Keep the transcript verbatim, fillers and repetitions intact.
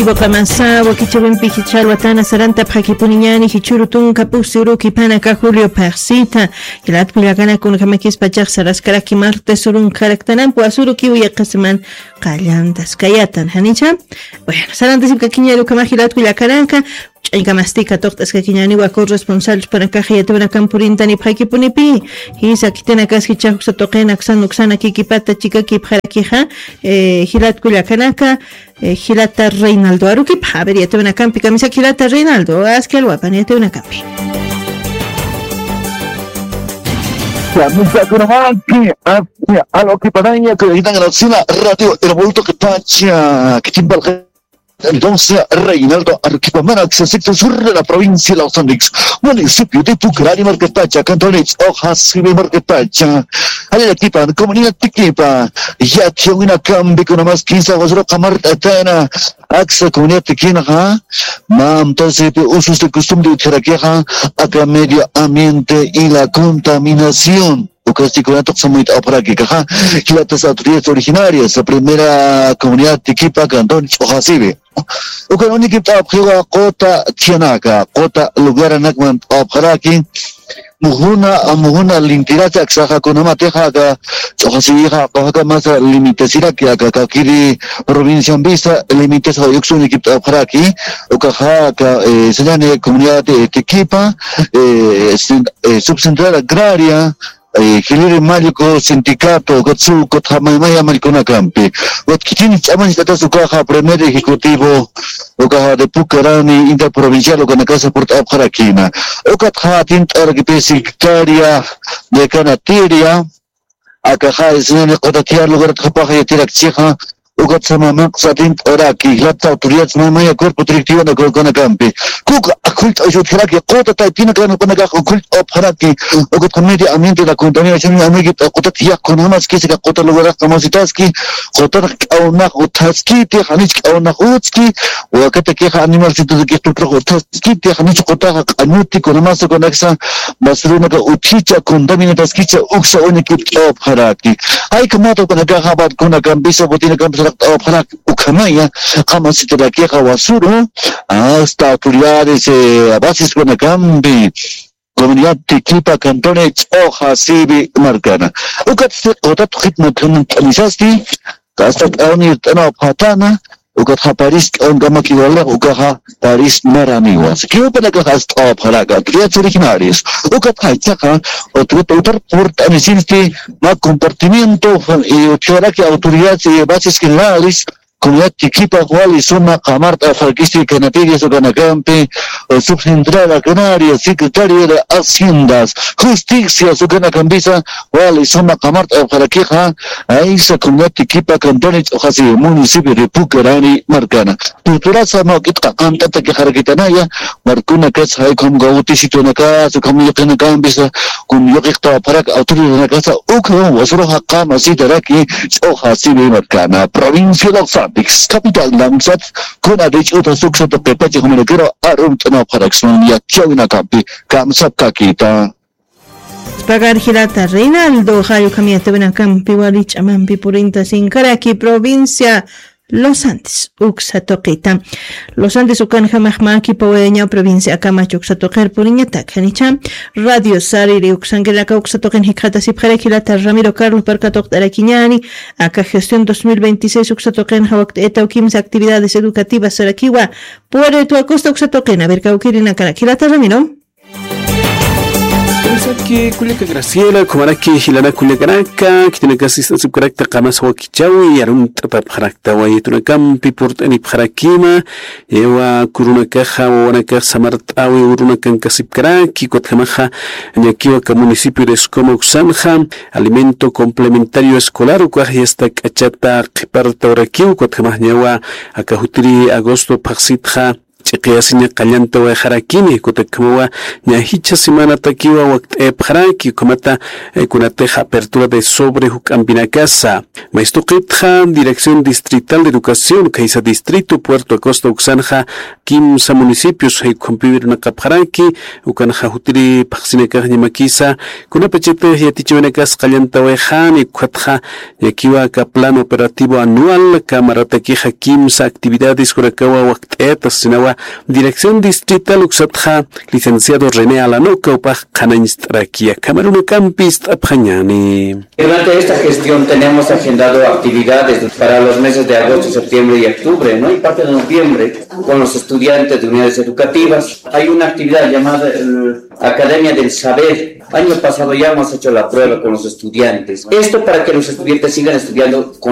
Ibuqamasa wakichawimpi jichha alwatana sarantapxakipuniñani jichhuru tunka pusi urukipanaka Julio phaxsita. Jilat kullakanaka, kunjamakis pachax saraskaraki martes urunkaraktanampi wasurukiw yaqasiman qallantaskayatan janicha. Bueno, sarantasipkakiñari ukhamax jilat kullakanaka. Ch'añkamasti katuqt'askakiñani wa corresponsal ch'upanakaxa yatawanakan purintanipxakipunipi. Jisa khitinakaski ch'axuksa tuqina uksan uksanakikipata chikakipxarakixa. Jilat kullakanaka. Jilata Reinaldo arukipa, a ver, yatawanakampi kamisaki jilata Reinaldo aski alwapan yatawanakampi. Kamisaki alwakipanaña kuyakitanga natsina radio hermolto kipacha kitimpalqa. Entonces Reinaldo arukipa mana acceso sur de la provincia de los Andes, municipio de Pucarani markatacha, cantones hojas y markatacha. Allá equipa comunidad equipa. Yathiwina kampi kunamas kinsa wasruqa mart'atana. Aksa comunidad tikinxa, mam tasipi usos de costumbre utjarakixa, aka medio ambiente y la contaminación. Ukasti kunatuq samuyt'apxaraki kaxa. Jilatas autoridades originarias, la primera comunidad tikipa cantón ch'uxasibi. Ukan unikipt'apxiwa quta thiyanaka quta lugaranakman t'apxaraki. Mujuna mujuna lintirasa aksaxa kunamatixa aka ch'uxasixa quxaka masa limitasiraki aka kakiri provinciambisa limitasa uyuksuni kipt'apxaraki. Ukaxa aka sañani comunidad tikipa subcentral agraria jiliri mallku sindicato ukatsu ukatxa maymaya mallkunakampi. Ukat khichini ch'amañcht'atas ukaxa primer ejecutivo ukaxa de pucarani interprovincial ukanakasa purt'apxarakina. Ukatxa atint'arakipis secretaria de canatiria akaxa isnani q'utatiyar lugaratxapaxa yatirakchixa. Ukatsa mamaqsa atint'araki jilata autoridades maymaya cuerpo directivana ukanakampi. Kuka akhullt'awishutjaraki quta taypinakan ukanakax ukhullt'apxaraki. Ukatxa medio ambiente la contaminación amigipt'a qutat yaqkunamaski sika quta lugarax kamasitaski. Qutanax k'awnax uthaskiti janich k'awnax utski. Wakatakixa animalsitutakix tutrux uthaskiti janich qutaxa q'añuti kunamasa ukanaksa. Basurunaka uthicha contaminataskicha uksa uñakipt'apxaraki. Jaykamata ukanakaxa barconakampisa botinakampisaraqt'apxaraki. Ukhamaya qamasitarakixa wasuru hasta autoridades basiskunakampi comunidad tikipa cantone ch'uxa sibi markana. Ukat qutat jitnakhan t'anisasti kasta k'awnir t'anapxatana. Ukatxa paris k'awnkamaki waliq ukaxa paris maraniwas kiwpanakax ast'apxaraka autoridades originarias. Ukatxa ichaqa autoridad utar purt'anisinsti ma compartimiento utjaraki autoridades y bases generales. Comunidad tikipax wali suma qamart'apxarakisti canatirias ukanakampi subcentral agraria secretario de haciendas justicias ukanakampisa wali suma qamart'apxarakixa. Aysa comunidad tikipa cantone ch'uxasi municipio de pucarani markana. Tuturasa mawk'itqa qant'atakixarakitanaya. Markunakas jaykham gawtisitunakasa ukham yuqinakampisa kun yuqiqtapxarak autoridadnakasa ukham wasuruxa qamasitaraki. Ch'uxa sibi markana provincia de los andes capital lamsat kuna dich'uta suksa tuqipachi jumanakiro arumt'anapxaraksman yachawinakampi kamsapkakita. Pagar jilata Reinaldo jayukham yatawinakampi wali ch'amampi purintasinkaraki provincia Los Andes uksa tuqita. Los Andes ukanjamax mä kipawayañaw provincia akamach uksa tuqir puriñatak janicha. Radio sariri uksankirinaka uksa tuqin jikxatasipxarak jilata Ramiro Carlos parka tuqt'arakiñani. Aka gestión dos mil veintiséis uksa tuqin jawakt'ayataw kimsa actividades educativas sarakiwa. Puerto Acosta uksa tuqin a ver kawkirinakarak jilata Ramiro. Kullaka Graciela ukhamaraki jilanak kullakanaka khitinakasistasipkarakta qamas wakichawi arumt'atapxarakta wayitunakampi purt'anipxarakima. Ewa kurunakaxa wawanakax samart'awi urunakankasipkaraki ukatjamaxa ñakiwaka municipio de Escoma uksanxa alimento complementario escolar ukax yasta k'achata qhipartawrakiw ukatjamaxñawa aka jutiri agosto phaxsitxa Ch'iqiyasiña qallantawayxarakini, kutakhamawa ña jichha semanatakiwa wakt'ayapxaraki, ukhamata, eh, kunatix apertura de sobre juk'ampinakasa. Maystuqitxa Dirección Distrital de Educación, khaysa distrito Puerto Acosta uksanxa, kimsa municipios, jay ukhampiw irnaqapxaraki, ukanxa jutiri phaxsinakax ñamakisa, kunapachatix yatichawinakas qallantawayxani, ukatxa, ñakiwa aka plan operativo anual, aka maratakixa kimsa actividades jurakawa wakt'ayata sasinawa, Dirección Distrital uksatxa, licenciado René Alanoca upax qhanañst'araki, akhamarunakampist'apxañani. Durante esta gestión tenemos agendado actividades para los meses de agosto, septiembre y octubre, ¿no? Y parte de noviembre con los estudiantes de unidades educativas. Hay una actividad llamada, eh, Academia del Saber. Año pasado ya hemos hecho la prueba con los estudiantes. Esto para que los estudiantes sigan estudiando con